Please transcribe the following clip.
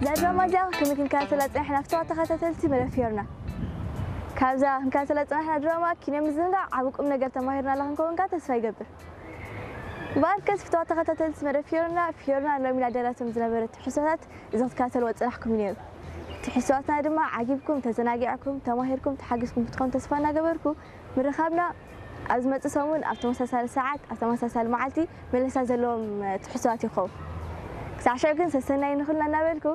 እዛ ድራማ እዚኣ ከመይ ክንከታተላ ጸኒሕና ፍትዋ ተኸታተልቲ መደብ ፊዮርና። ካብዛ ክንከታተላ ጸናሕና ድራማ ኪነ ምዝንጋዕ ዓቢ ቁም ነገር ተማሂርናላ ክንከውን ከኣ ተስፋ ይገብር። እምበኣርከስ ፍትዋ ተኸታተልቲ መደብ ፊዮርና፣ ፊዮርና ሎሚ ላደላቶም ዝነበረ ትሕዝቶታት እዚ ክትከታተልዎ ዝጸናሕኩም እዩ ነይሩ። ትሕዝቶታትና ድማ ዓጊብኩም፣ ተዘናጊዕኩም፣ ተማሂርኩም፣ ተሓጊዝኩም ክትኾኑ ተስፋ እናገበርኩ፣ ምርኻብና ኣብ ዝመጽእ ሰሙን ኣብ ተመሳሳሊ ሰዓት ኣብ ተመሳሳሊ መዓልቲ መለሳ ዘለዎም ትሕዝቶታት ይኸውን። ክሳዕ ሽዑ ግን ሰሰናይ ንኹልና እናበልኩ